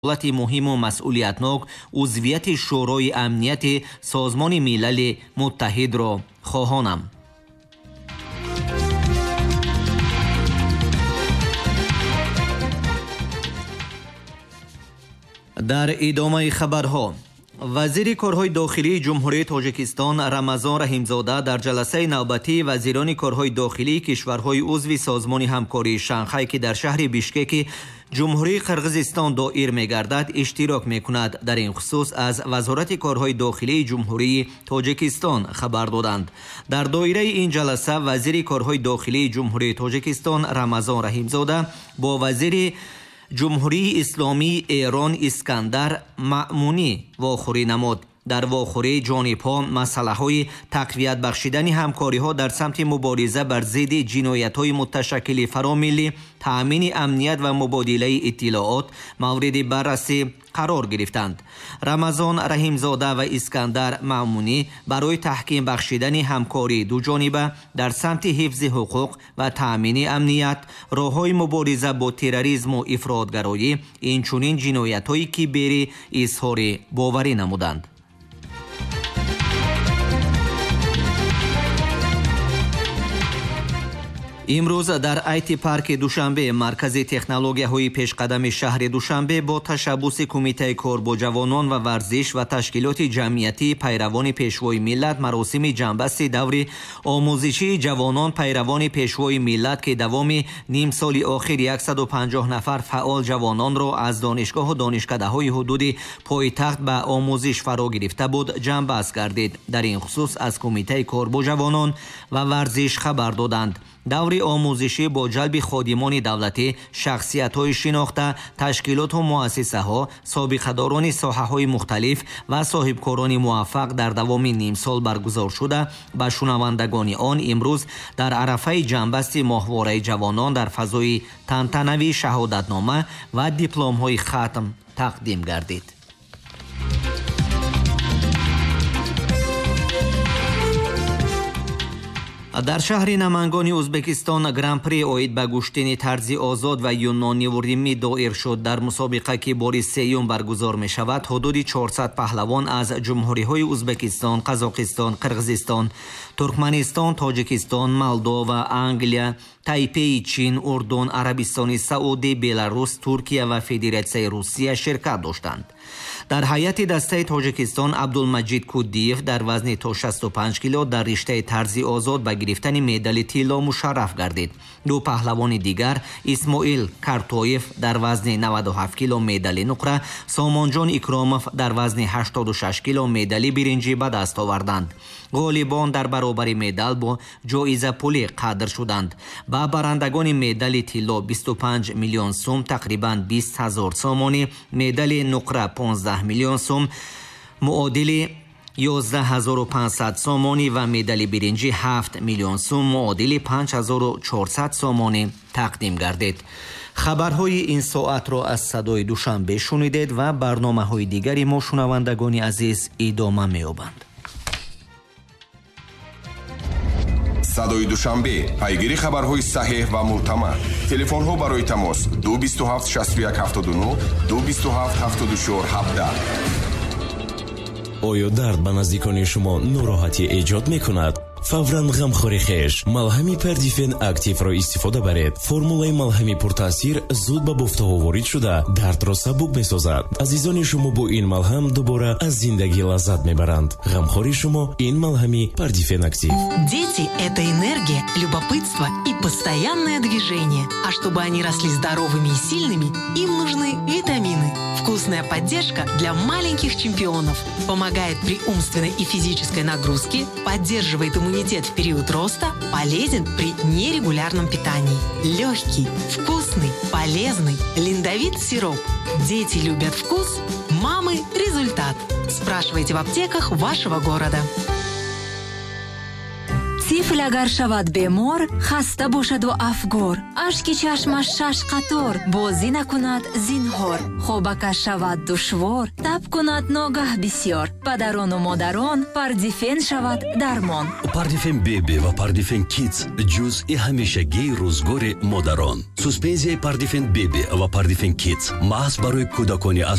Ҳолати муҳиму масъулиятнок узвияти Шӯрои амнияти Созмони Милали Муттаҳидро хоҳонам. Дар идомаи хабарҳо, вазири корҳои дохилии Ҷумҳурии Тоҷикистон Рамазон Раҳимзода дар ҷаласаи навбатии вазирони корҳои дохилии кишварҳои узви Созмони ҳамкории Шанхай, ки дар шаҳри Бишкеки Ҷумҳурии Қирғизистон доир мегардад, иштирок мекунад. Дар ин хусус аз Вазорати корҳои дохилии Ҷумҳурии Тоҷикистон хабар доданд. Дар доираи ин ҷаласа вазири корҳои дохилии Ҷумҳурии Тоҷикистон Рамазон Раҳимзода бо вазири Ҷумҳурии Исломии Эрон Искандар Маъмунӣ вохӯрӣ намуд. Дар вохӯрии ҷонибҳо масъалаҳои тақвият бахшидани ҳамкориҳо дар самти мубориза бар зидди ҷиноятҳои муташаккили фаромиллӣ, таъмини амният ва мубодилаи иттилоот мавриди баррасӣ қарор гирифтанд. Рамазон Раҳимзода ва Искандар Маъмунӣ барои таҳким бахшидани ҳамкории дуҷониба дар самти ҳифзи ҳуқуқ ва таъмини амният, роҳҳои мубориза бо терроризму ифротгароӣ, инчунин ҷиноятҳои киберӣ изҳори боварӣ намуданд. Имрӯз дар Айти парки Душанбе, маркази технологияҳои пешқадами шаҳри Душанбе, бо ташаббуси Кумитаи кор бо ҷавонон ва варзиш ва ташкилоти ҷамъиятии пайравони Пешвои миллат маросими ҷамъбасти даври омӯзишии ҷавонон пайравони Пешвои миллат, ки давоми нимсоли охир 150 нафар фаъол ҷавононро аз донишгоҳу донишкадаҳои ҳудуди пойтахт ба омӯзиш фаро гирифта буд, ҷамъбаст гардид. Дар ин хусус аз Кумитаи кор бо ҷавонон ва варзиш хабар доданд. Даври омӯзишӣ бо ҷалби ходимони давлатӣ, шахсиятҳои шинохта, ташкилоту муассисаҳо, собиқадорони соҳаҳои мухталиф ва соҳибкорони муваффақ дар давоми нимсол баргузор шуда, ба шунавандагони он имрӯз дар арафаи ҷамъбасти моҳвораи ҷавонон дар фазои тантанавӣ шаҳодатнома ва дипломҳои хатм тақдим гардид. Дар шаҳри Намангони Ӯзбекистон Гран-при оид ба гӯштини тарзи озод ва юнониву римӣ доир шуд. Дар мусобиқа, ки бори сеюм баргузор мешавад, ҳудуди 400 паҳлавон аз ҷумҳуриҳои Ӯзбекистон, Қазоқистон, Қирғизистон, Туркманистон, Тоҷикистон, Молдова, Англия, Тайпеи Чин, Урдун, Арабистони Саудӣ, Беларус, Туркия ва Федератсияи Русия ширкат доштанд. Дар ҳайати дастаи Тоҷикистон Абдулмаҷид Куддиев дар вазни то 65 кило дар риштаи тарзи озод ба гирифтани медали тилло мушарраф гардид. Ду паҳлавони дигар, Исмоил Картоев дар вазни 97 кило медали нуқра, Сомонҷон Икромов дар вазни 86 кило медали биринҷӣ ба даст оварданд. Ғолибон дар баробари медал бо ҷоизапулӣ қадр шуданд. Ба барандагони медали тилло 25 миллион сум, тақрибан 20 ҳазор сомонӣ, медали нуқра 15 миллион сум, муодили 11500 сомонӣ ва медали биринҷӣ 7 миллион сум, муодили 5400 сомонӣ тақдим гардид. Хабарҳои ин соатро аз Садои Душанбе шунидед ва барномаҳои дигари мо, шунавандагони азиз, идома меёбанд. Садои Душанбе, пайгири хабарҳои саҳеҳ ва мӯътамад. Телефонҳо барои тамос 227 61 79, 227 74 17. Оё дард ба наздикони шумо нороҳатӣ эҷод мекунад? Фавран ғамхори хеш малҳами Пердифен Активро истифода баред. Формулаи малҳами пуртаъсир зуд ба бофтаҳо ворид шуда, дардро сабук месозад. Азизони шумо бо ин малҳам дубора аз зиндагӣ лаззат мебаранд. Ғамхори шумо ин малҳами Пердифен Актив. Дети – это энергия, любопытство и постоянное движение. А чтобы они росли здоровыми и сильными, им нужны витамины. Вкусная поддержка для маленьких чемпионов. Помогает при умственной и физической нагрузке, поддерживает иммунитет в период роста, полезен при нерегулярном питании. Легкий, вкусный, полезный Линдовит сироп. Дети любят вкус, мамы – результат. Спрашивайте в аптеках вашего города. Тифл агар шавад бемор, хаста бошаду афгор, ашки чашмаш шаш қатор, бозӣ накунад зинҳор, хобакаш шавад душвор, таб кунад ногаҳ бисьёр, падарону модарон, Пардифен шавад дармон. Пардифен Беби ва Пардифен Кидс — ҷузъи ҳамешагии рӯзгори модарон. Суспензияи Пардифен Беби ва Пардифен Кидс маҳз барои кӯдакони аз